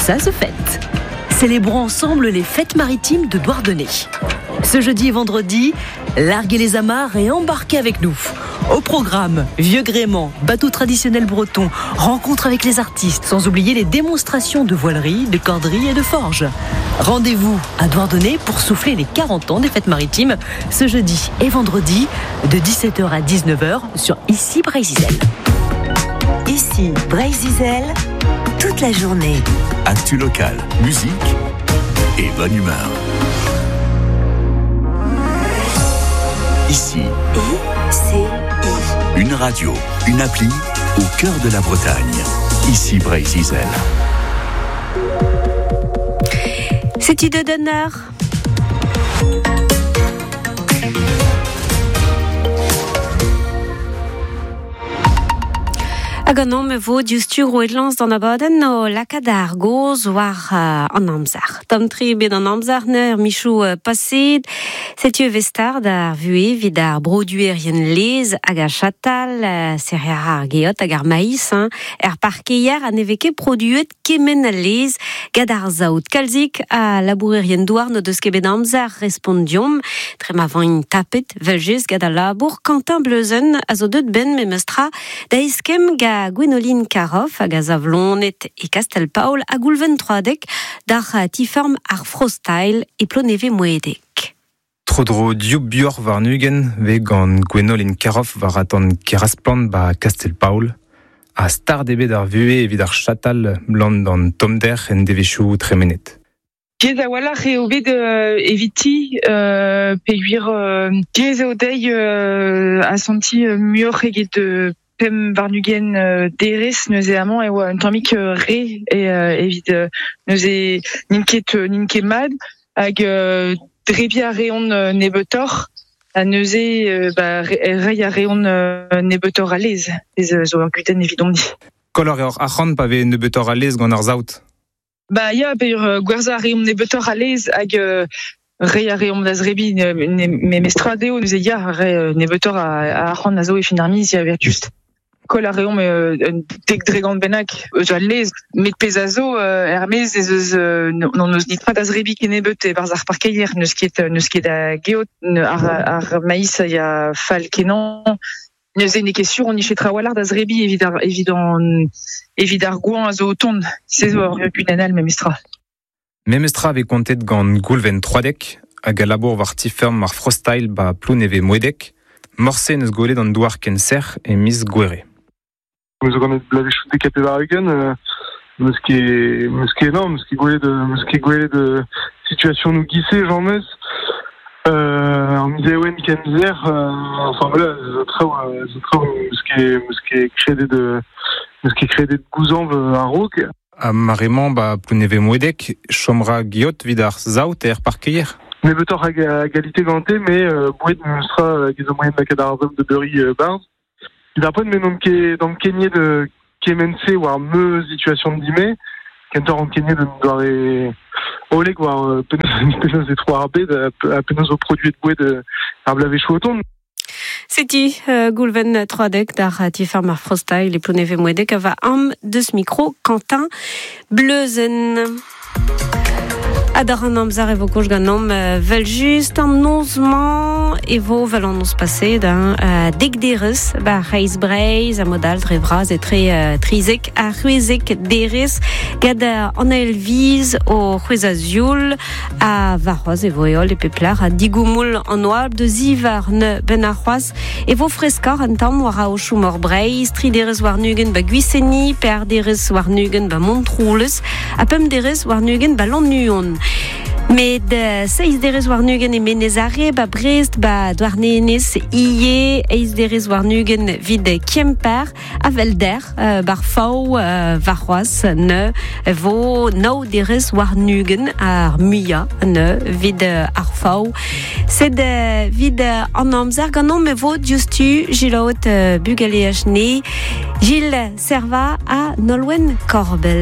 ça se fête. Célébrons ensemble les fêtes maritimes de Douarnenez. Ce jeudi et vendredi, larguez les amarres et embarquez avec nous. Au programme, vieux gréement, bateau traditionnel breton, rencontre avec les artistes, sans oublier les démonstrations de voilerie, de corderie et de forge. Rendez-vous à Douarnenez pour souffler les 40 ans des fêtes maritimes ce jeudi et vendredi de 17h à 19h sur Ici Breizh Izel. Ici Breizh Izel, toute la journée. Actu locale, musique et bonne humeur. Ici. I, C, I. Une radio, une appli au cœur de la Bretagne. Ici Breizh Izel. Setu deut an eur. Hag an e vo diouzhtu roet lañs d'an abadenn o lakaat ar gaoz war an amzer. Tamm-tre bet an amzer neur michoù paseet. Setu e vez start ar vuhez evit ar broduerien laezh hag ar chatal, serriñ ar geot hag ar maïs, hein. Er parkeier ha ne vez ket produet kement a laezh gant ar saout. Kalzik a labourerien douar n'o deus ket bet amzer respont deomp. Tre ma vaint tapet, vel-just gant al labour. Quentin Bleuzen a zo deut ben memestra da eskemm ga Gwenoline Caroff hag a Zavlonet e Kastel-Paol ha Goulven Troadec d'ar ti-feurm ar Frostyle e Plonevez-Moedec. Tro-dro div buoc'h warn-ugent vez gant Gwenoline Caroff war atant Kerasplant ba Kastel-Paol. Ha start eo bet ar vuhez evit ar chatal blant d'an tommder en devezhioù tremenet. Diaes a-walc'h eo bet eviti peogwir diaes eo dezhi asantiñ muioc'h eget pemp warn-ugent derez neuze amañ e oa un tammig re evit neuze n'int ket n'int ket mat hag drebiñ a reont nebeutoc'h ha neuze ba reiñ a reont nebeutoc'h a laezh ez zo ur gudenn evidomp-ni. Koll a reoc'h arc'hant pa vez nebeutoc'h a laezh gant ar saout? Ba ya, peogwir gwerzhañ a reomp nebeutoc'h a laezh hag reiñ a reomp da zrebiñ memestra dezho neuze ya, re nebeutoc'h a arc'hant a zo e fin ar miz, ya evel-just. Koll a reomp un dek dregont bennak eus al laezh, met pezh a zo er-maez ez eus n'hon eus netra da zrebiñ kennebeut e-barzh ar parkeier, n'eus ket n'eus ket a geot, ar maïs a ya fall kenañ. Neuze n'eo ket sur on nije trawalc'h da zrebiñ evit ar evit an evit ar goañv a zo o tont. Se zo ur gudenn all memestra. Memestra vez kontet gant Goulven Troadec hag a labour war ti-feurm ar Frostyle ba Plounevez-Moedec. Morse n'eus gwelet an douar ken sec'h e miz Gouere. Meus ganet bloavezhioù dek ha pevar-ugent, meus ket meus ket non, meus ket gwelet meus ket gwelet situationoù giz-se james. An miz Ewen ken sec'h, enfin voilà, zo traoù zo traoù meus ket meus ket kredet meus ket kredet gouzañv a-raok. Ha mare-mañ ba Plounevez-Moedec, chom ra geot evit ar saout er parkeier? Nebeutoc'h a galite gante, mais boued meus tra hag ez zo moaien lakaat ar saout da beuriñ 'barzh. Evit ar poent me n'on ket ankeniet kement-se war ma situation dime, kentoc'h ankeniet un doare hollek war penaos e tro ar bed ha penaos zo produet boued ar bloavezhioù o tont. Setu Goulven Troadec d'ar ti-feurm ar Frostyle e Plounevez-Moedec a va am deus mikro Quentin Bleuzen. Ha d'ar an amzer e vo koulz ganeomp vel-just an noz-mañ e vo vel an noz paseet hein, dek derez ba c'hreiz Breizh ha mod all dre vras etre trizek ha c'hwezek derez gant an ael viz o c'hwezhañ zioul ha warc'hoazh e vo heol e pep lec'h ha digoumoul an oabl da zivar ne benn ar c'hoazh e vo freskoc'h un tamm war aochoù mor Breizh tri derez warn-ugent ba Gwiseni per derez warn-ugent ba Montroulez ha pemp derez warn-ugent ba Lannuon. Met seizh derez warn-ugent e Menez Are, ba Brest, ba Douarnenez ivez, eizh derez warn-ugent evit Kemper, ha Velder, bar Faou, warc'hoazh ne vo nav derez warn-ugent ar muiañ ne evit ar Faou. Sed evit an amzer ganeomp e vo diouzhtu Gilles Bugaleaj ne Gilles Serva ha Nolwenn Corbel.